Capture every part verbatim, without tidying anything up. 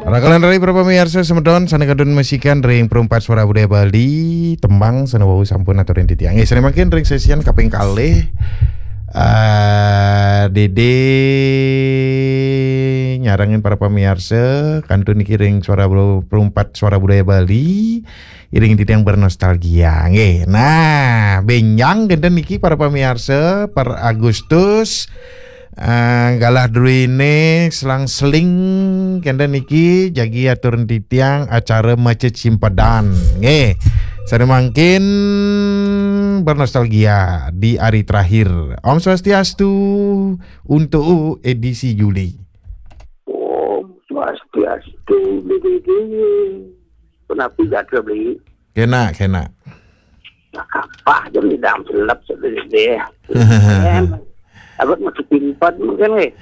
Rakalan rai para pamiarsa semeton sane kantun masikan ring Perumpat Suara Budaya Bali, tembang sane wau sampun aturin titiang. Nggih, sane mangkin ring sesian kaping kalih, eh, Dede nyarengin para pamiarsa kantun niki ring Suara Bu-, Perumpat Suara Budaya Bali, iring titiang bernostalgia. Nggih. Nah, benjang kenten niki para pamiarsa per Agustus, eh, galah druene selang-seling kenten niki jagi atur titiang acara maca cimpedan. Nggih. Sane mangkin bernostalgia di hari terakhir. Om Swastiastu untuk edisi Juli. Om Swastiastu, Bli Dede. Kenapi jadra, Bli? Kena, kena. Kapah jam di dalam selep, Bli Dede. Em, abot masuk pimpat mungkin, eh.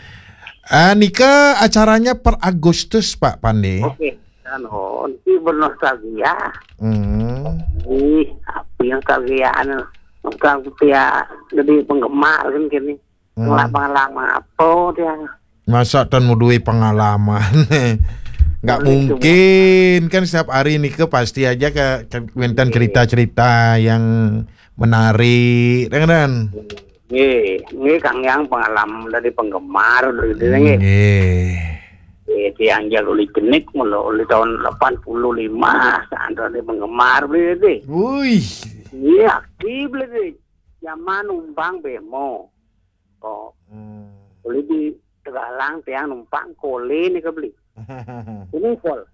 Ah, nika acaranya per Agustus, Pak Pandi. Oke. Anu, nanti bernostalgia. Hmm. Ih, apa yang nostalgia, anu? Nostalgia jadi penggemar kan kini. Hmm. Ngelak pengalaman apa dia? Masa tan mau duwe pengalaman? Nggak mungkin. Kan setiap hari nika pasti aja ke, ke wenten cerita-cerita yang menarik, ya kan? Nggih, nggih, Kang Yang pengalaman dari penggemar, gitu, nggih. Nggih. Eh, tiang jal uli jenik mula uli tahun delapan puluh lima, saat dari penggemar, gitu. Wih. Iya, aktif, gitu. Zaman numpang bemo. Oh. Hmm. Uli di Tegalang tiang numpang kole nika, Bli. Ini kol.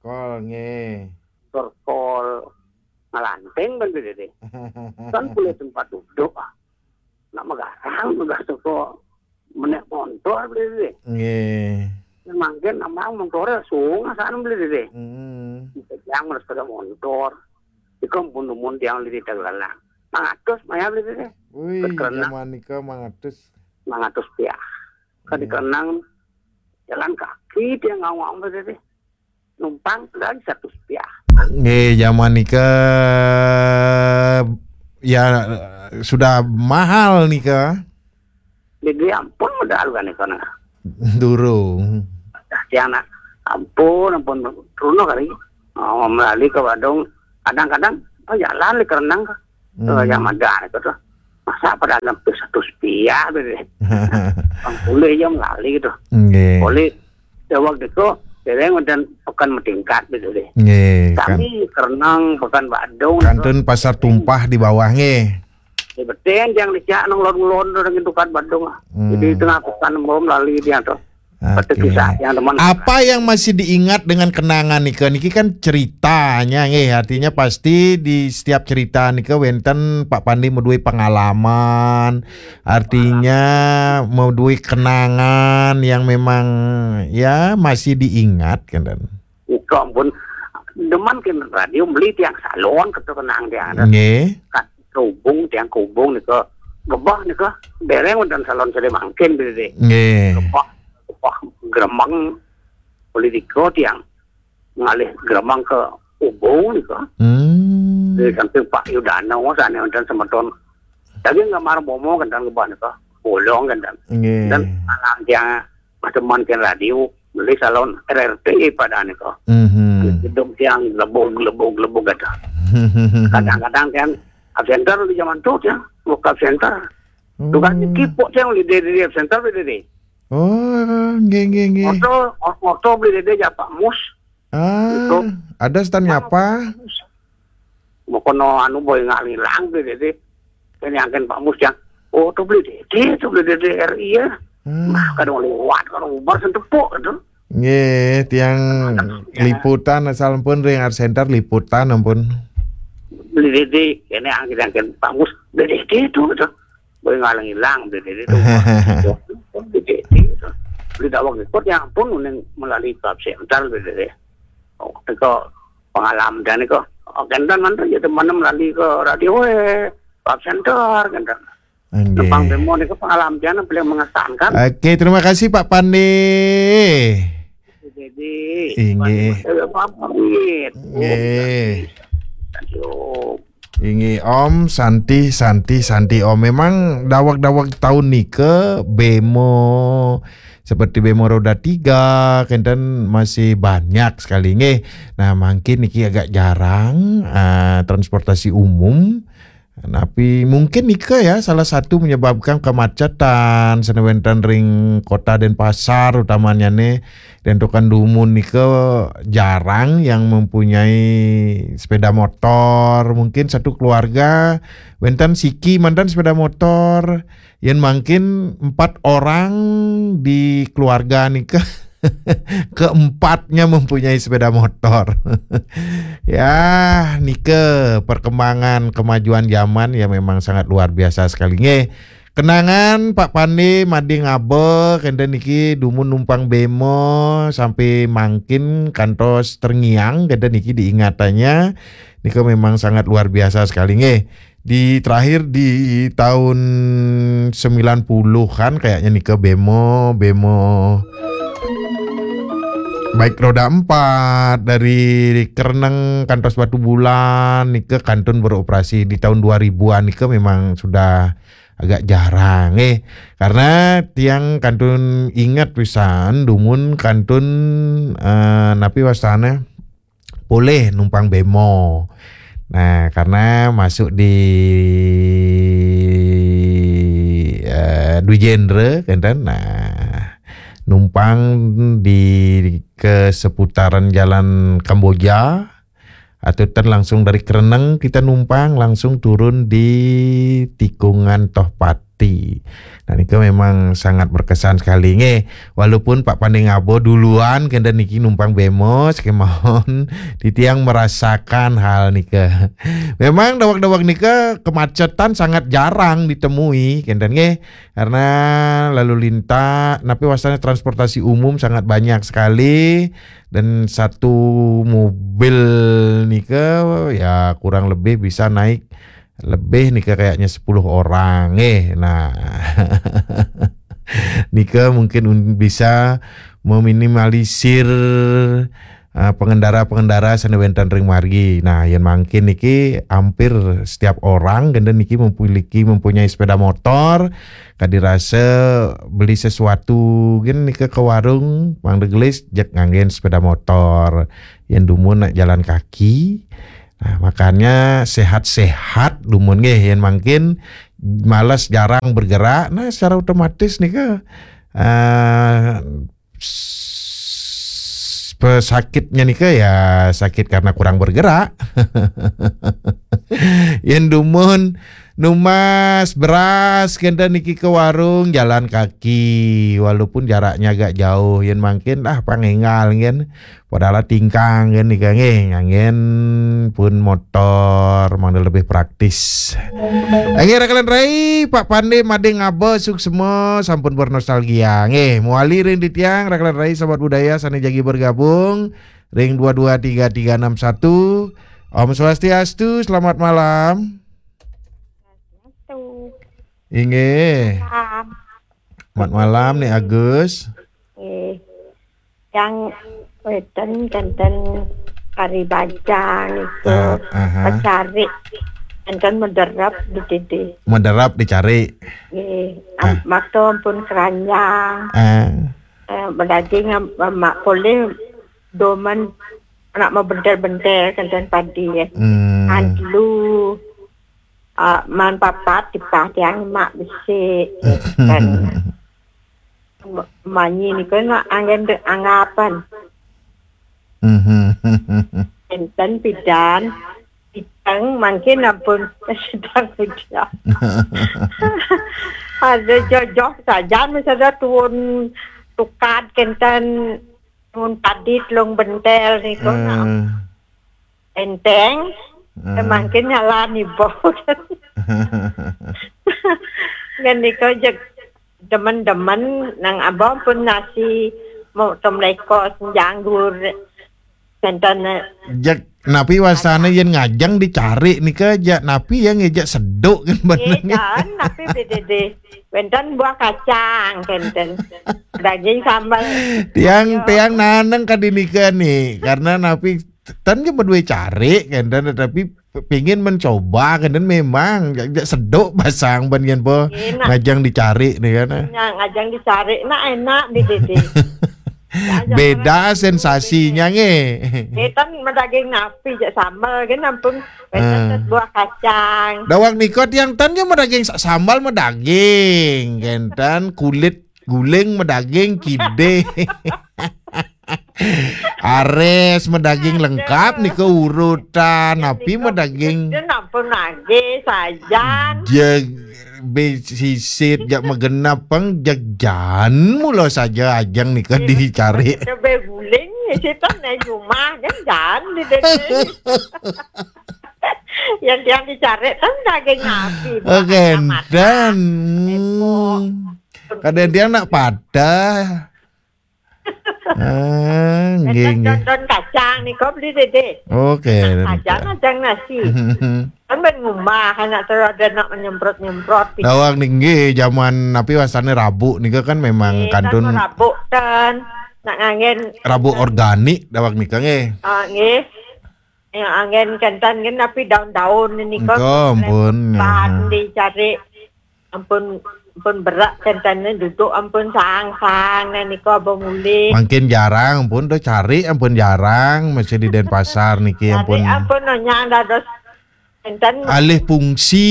Kol, nggih. Tur kol ngelanting kan, Bli Dede. Kan boleh tempat duduk. Nak megarang tugas toko menek montor, Bli Dede. Nggih. Mangkin amang montore sunga sana, Bli Dede. Hmm. Yang mana sepeda montor. Iku pun numun tiang di Tegalang. Mangatus maya, Bli Dede. Wih, zaman nika mangatus. Mangatus piah. Kan di Kenang jalan kaki tiang ngawang, Bli Dede. Numpang lagi satu piah. Nggih, zaman nika ya sudah mahal nika. Jadi ampun, modal kan nika, nah. Durung. Tiang nak, ampun, ampun, runo kali. Oh, melali ke Badung. Kadang-kadang, oh, jalan di Kerenang ke. Hmm. Yang ada itu tuh. Masa pada sampai satu piah, gitu. Boleh aja melali gitu. Nggih. Boleh. Ya, waktu itu, dereng dan pekan meningkat, gitu deh. Nggih, kan. Kami Kerenang, pekan Badung, kantun gitu. Pasar Tumpah di bawah, nggih. Ya, betul, yang dicak nang lon-lon, orang itu kan Badung. Hmm. Jadi, tengah pekan, bom lali dia tuh. Oke. Kisah yang teman. Apa yang masih diingat dengan kenangan nika? Niki kan ceritanya, nggih, artinya pasti di setiap cerita nika wenten Pak Pandi meduwe pengalaman, artinya meduwe kenangan yang memang ya masih diingat, kan. Nika ampun, demen kan radio beli tiang salon, kata kenang tiang ada. Nggih. Kan kehubung, tiang kehubung nika, gebah nika, dereng wenten salon sede mangkin, Bli Dede. Nggih. Gebah, gebah gremeng, politika tiang ngalih gremeng ke Ubung nika. Hmm. Di samping Pak Yudana, sana wenten semeton. Daging gambar bomo, kan, gebah nika. Bolong, kan. Nggih. Dan anak tiang mas teman kan radio, beli salon R R T pada nika. Mhm. Gedung tiang lebug, lebug, lebug kata. Kadang-kadang kan absenter di zaman tu tiang, buka absenter. Oh. Tukang kipok tiang di, di, di absenter di, di. Oh, nggih, nggih, nggih. Motor, motor beli di, di Pak Mus. Ah, gitu. Ada stand apa? Mau kono anu boy ngilang di, di, di. Ini angkin Pak Mus yang, oh, tu beli di, di, tu beli di, di R I ya. Hmm. Nah, kadang lewat, kadang ubar sentepuk gitu. Nggih, tiang liputan asal pun ring Art Center liputan ampun. Beli di, di, ini angkin, angkin Pak Mus, beli di, di tu gitu. Boy ngilang-ngilang, beli di, di tu. Beli di, di tu. Beli dawang ikut yang pun uning melalui Art Center, beli di, di. Oh, itu pengalaman dan itu. Oh, kenten mantu ya teman melalui ke radio, eh, Art Center, kenten. Nggih. Tepang demo niku pengalaman yang paling mengesankan. Oke, terima kasih Pak Pandi. Jadi, inggih. Pamit. Nggih. Aduh. Inggih, Om, Santi, Santi, Santi, Om. Memang daweg-daweg taun nika bemo seperti bemo roda tiga, kenten masih banyak sekali nggih. Nah, mangkin niki agak jarang, ah, transportasi umum. Tapi mungkin nika ya salah satu menyebabkan kemacetan sane wenten ring kota Denpasar utamanya nih. Dan dumun nika jarang yang mempunyai sepeda motor. Mungkin satu keluarga wenten siki manten sepeda motor. Yen mangkin empat orang di keluarga nika keempatnya mempunyai sepeda motor. Ya, nika perkembangan kemajuan zaman ya memang sangat luar biasa sekali nggih. Kenangan Pak Pande mading abe kenten niki dumun numpang bemo sampai mangkin kantos terngiang kenten niki diingatannya nika memang sangat luar biasa sekali nggih. Di terakhir di tahun sembilan puluhan kayaknya nika bemo, bemo baik roda empat dari Kereneng kantos Batu Bulan nika kantun beroperasi di tahun dua ribuan nika memang sudah agak jarang eh karena tiang kantun ingat pisan dumun kantun eh, napi wastane boleh numpang bemo. Nah, karena masuk di eh, Dwijendra kenten. Nah, numpang di ke seputaran jalan Kamboja atau ten langsung dari Kereneng kita numpang langsung turun di tikungan Tohpati. Nah, nika memang sangat berkesan sekali nggih. Walaupun Pak Panding Abo duluan kenten niki numpang bemos kemawon titiang merasakan hal nika. Memang dawak-dawak nika kemacetan sangat jarang ditemui kenten nggih. Karena lalu lintas napi wastane transportasi umum sangat banyak sekali dan satu mobil nika ya kurang lebih bisa naik lebih nika kayaknya sepuluh orang eh nah nika mungkin un- bisa meminimalisir uh, pengendara-pengendara sane wenten ring margi. Nah, yen mangkin niki hampir setiap orang kenten niki memiliki mempunyai sepeda motor. Kadi rasa beli sesuatu gen nika ke warung, mangda gelis jek nganggen sepeda motor. Yen dumun nak jalan kaki. Nah, makanya sehat-sehat dumun nggih yen mangkin malas jarang bergerak. Nah, secara otomatis nika uh, pesakitnya nika ya sakit karena kurang bergerak. Yen dumun numas beras kenten niki ke warung jalan kaki walaupun jaraknya agak jauh yen mangkin ah pangenggal ngen padahal tingkang ngen nika nggih nganggen pun motor mangda lebih praktis. Nggih rakalan rai Pak Pande mading ngaba suksma sampun bernostalgia nggih muali ring titiang rakalan rai sahabat budaya sane jagi bergabung ring dua dua tiga tiga enam satu. Om Swastiastu, selamat malam. Swastiastu. Inggih. Malam. Selamat malam nih Agus. Eh, yang weten kenten kari bajang itu Ah, aha. Pecari kenten mederap di didi. Mederap dicari. Eh, Ah. Makto ampun keranjang. Ah. Eh, bedaging am- mak boleh domen anak mau bentel-bentel kenten padi ya. Hmm. Adlu ah, man papat tipah tiang mak bisi kan manyi ni kan anggen de anggapan Mhm. Enten pidan pitang mangkin ampun sedang hujan. Ada jojoh saja misalnya tuun tukad kenten tuun padit long bentel ni ko. Eh. Enteng. Hmm. Mangkin nyala ni bau. Ngan ni ko jek demen-demen nang abang pun nasi mau tomleko senjanggur. Kenten. Jek napi wasana yen ngajeng dicari nika jek napi yang ngejek seduk kan bener. Kan napi bedede. Wenten buah kacang kenten. Daging sambal. Tiang tiang naneng kadi nika nih karena napi tan je bedue cari kenten tetapi pingin mencoba kan, dan memang jak, jak seduk basang ban kan, po. Enak. Ngajang dicari nih kan. Nah, ngajang dicari, nah, enak di Dede. Beda sensasinya nge. Ngetan medaging napi jak sambal kan, ampun. Beda. Ah. Set buah kacang. Dawang nikot yang tan jo medaging sa-, sambal medaging, kan tan kulit guling medaging kide. Ares medaging lengkap nih ke urutan, tapi medaging. Dan ampun lagi sajan. Jeg be sisit jak megenap peng, jeg jan mulo saja ajang nih ke dicari. Coba guling, ya, situ nih rumah kan jan di Dede. Yang, yang dicari kan daging napi. Oke, dan kadang dia nak patah. Ah, nggih, nggih. Don, don kacang nih, kok beli Dede. Oke, nah, kacang, kacang nasi. Kan ben ngumah, anak terus ada nak menyemprot-nyemprot. Dawang nih, nggih, zaman napi wasane rabuk nih kan memang kantun. Rabuk dan nak ngangen rabuk organik dawang nih, nggih. Ah, nggih. Ya, angin kentan kan, tapi daun-daun ini kok. Engko, ampun, ya. Dicari. Ampun, ampun berak kentan ini duduk, ampun sang-sang, nah, niko abang mulih. Makin jarang, ampun, tuh cari, ampun, jarang, masih di Denpasar niki, cari, ampun. Ampun, nanya dados kentan. Alih fungsi,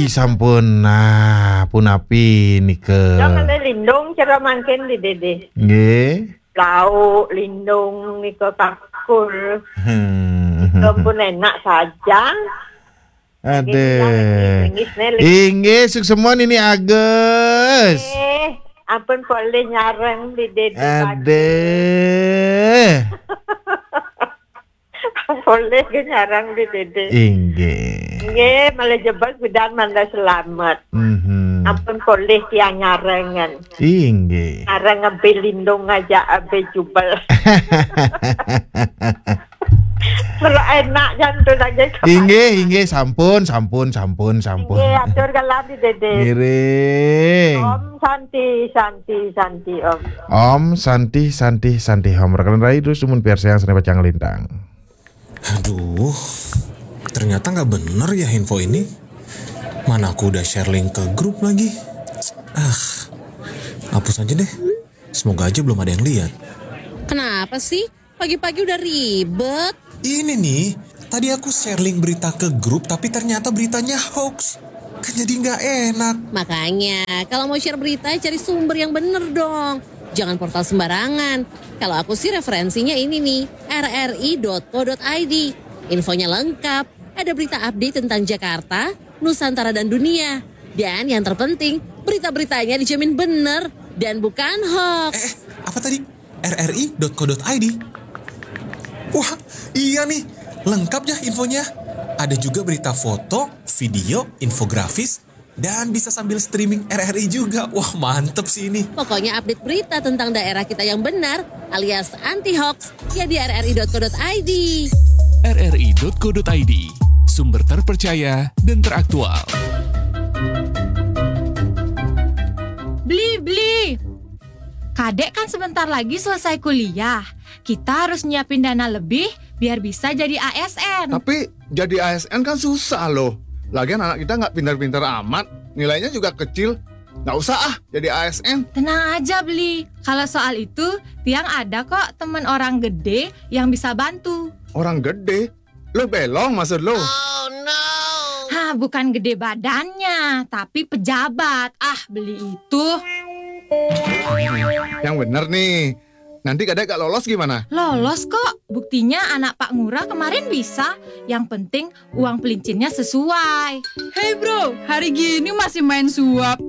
sampun. Nah, pun api nika. Jangan lindung, cara makin di Dede. Nggih. Lauk, lindung, niko kakul. Hmm. Niko pun enak saja. Ada. Inggih, suksma nini Agus. Eh, ampun polih nyareng di Dede. Ada. Polih ke nyareng di Dede. Inggih. Inggih, malah jebak bidan malah selamat. Mhm. Ampun polih tiang nyarengan. Inggih. Ngarang abe lindung aja abe jubel. Kalau enak jantung lagi. Inggih, inggih, sampun, sampun, sampun, sampun. Inggih, atur galah di Dede. Ngiring. Om Santi, Santi, Santi, Om. Om Santi, Santi, Santi, Om. Rekan rai terus sumun piarsayang sene pacang lintang. Aduh, ternyata nggak bener ya info ini. Mana aku udah share link ke grup lagi. Ah, hapus aja deh. Semoga aja belum ada yang lihat. Kenapa sih? Pagi-pagi udah ribet. Ini nih, tadi aku share link berita ke grup, tapi ternyata beritanya hoax. Kan jadi nggak enak. Makanya, kalau mau share berita, cari sumber yang bener dong. Jangan portal sembarangan. Kalau aku sih referensinya ini nih, R R I dot co dot I D. Infonya lengkap, ada berita update tentang Jakarta, Nusantara dan dunia. Dan yang terpenting, berita-beritanya dijamin bener dan bukan hoax. Eh, eh, apa tadi? R R I dot co dot I D. Wah, iya nih, lengkap ya infonya. Ada juga berita foto, video, infografis, dan bisa sambil streaming R R I juga. Wah, mantep sih ini. Pokoknya update berita tentang daerah kita yang benar alias anti hoax ya di R R I dot co dot I D. R R I dot co dot I D, sumber terpercaya dan teraktual. Beli, beli. Kadek kan sebentar lagi selesai kuliah. Kita harus nyiapin dana lebih biar bisa jadi A S N. Tapi jadi A S N kan susah loh. Lagian anak kita nggak pintar-pintar amat, nilainya juga kecil. Nggak usah ah jadi A S N. Tenang aja, Beli. Kalau soal itu, Tiang ada kok temen orang gede yang bisa bantu. Orang gede? Lo belong maksud lo? Hah, bukan gede badannya, tapi pejabat. Ah, Beli itu. Yang bener nih. Nanti kadek gak lolos gimana? Lolos kok. Buktinya anak Pak Ngurah kemarin bisa. Yang penting uang pelincinnya sesuai. Hey bro, hari gini masih main suap.